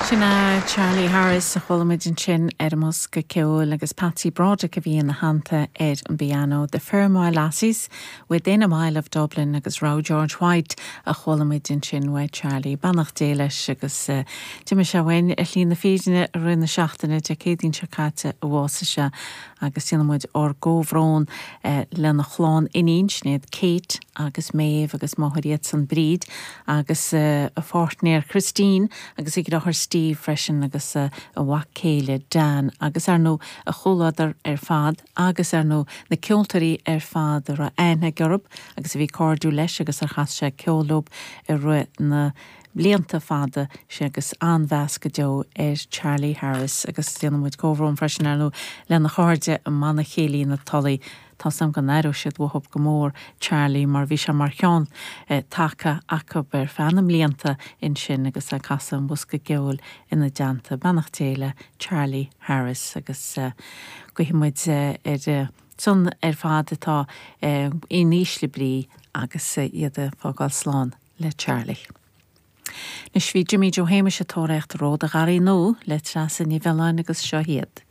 Sin é Charlie Harris a chuala muid ansin ar an mbosca ceoil agus Patsy Broderick a bhí ina theannta ar an bpianó. The Fermoyle Lassies, Within a Mile of Dublin agus Row George White a chuala muid ansin uaidh Charlie. Beannacht Dé leis agus d'imigh sé uainn ar shlí na fírinne i rith na seachtaine, Dé Céadaoin seo caite a bhásaigh sé agus déanann muid ár gcomhbhrón lena chlann iníon, Sinéad, Kate agus Méabh agus máthair iadsan Bríd agus a pháirtnéir Christine agus a dheartháir Steve freisin agus a mhac céile Dan agus ar ndóigh a chomhluadar ar fad agus ar ndóigh na ceoltóirí ar fad a raibh aithne aige orthu agus a bhí cairdiúil leis agus ar chas sé ceol leo i rith na mblianta fada sin agus an-mheas go deo ar Charlie Harris agus déanann muid comhbhrón freisin ar ndóigh lena chairde i mBanna Céilí na Tulaí. Tá 's agam go n-aireoidh siad uathu go mór Charlie mar bhí sé mar cheann taca acu ar feadh na mblianta ansin agus é ag casadh an bhosca ceoil ina dteannta. Beannacht Dé le Charlie Harris agus guífidh muid ar son ar fad atá in ísle brí agus iad ag fágáil slán le Charlie. Anois bhí Jimí Joe Shéamais ag tóraíocht Ród an Gharraí Nua le Treasa Ní Mhiolláin agus seo iad.